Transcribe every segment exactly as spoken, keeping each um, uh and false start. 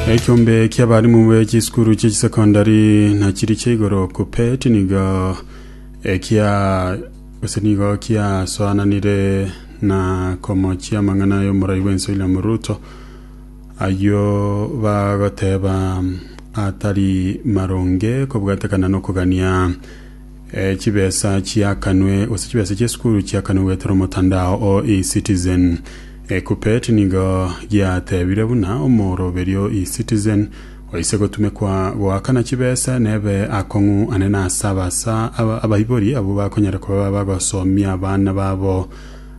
Ekiombe ki'abarimu be chisukuru chie chisekondari na chiri chia igoro KUPPET nigo ekia gose nigo kiasoananire na komochia amang'ana y'omorai bw'ense William Ruto ayio bagoteba atari maronge kobwatekana nokogania eh, chibesa chiakanwe gose chibesa chiesukuru chiakanwe goetera omotandao o eCitizen. E, KUPPET nigo giatebire buna omoroberio eCitizen oise gotumekwa goakana chibesa nebe akong'u anene ase abasa aba- abaibori abo bakonyara kuba bagosomia abana babo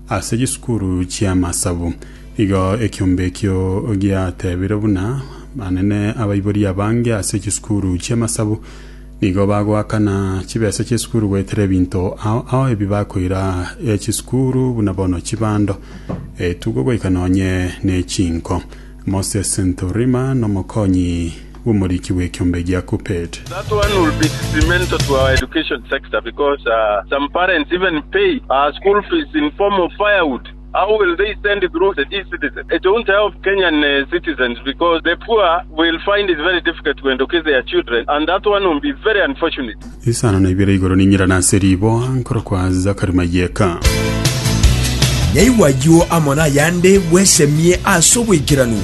ase chisukuru chiamasabu. Igo ekiombe ekio giatebire buna anene abaibori abange ase chisukuru chiamasabu nigo bagoakana chibesa chiesukuru goetera ebinto ao ao ebi bakoira eh, chisukuru buna bono chibando etugo goika nonye ne chinko. Moses Ntorima nomokonyi bw'omoriki bw'ekiombe gia KUPPET. That one will be detrimental to our education sector because uh, some parents even pay uh, school fees in form of firewood. How will they send it through the e-citizen? It won't help Kenyan uh, citizens because the poor will find it very difficult to educate their children, and that one will be very unfortunate. Isano na ibere igoro ninyira ase ribo nkoro kwa Zakari Mayeka. Nyaigwa ayio amo nayande bwesemie ase oboikeranu.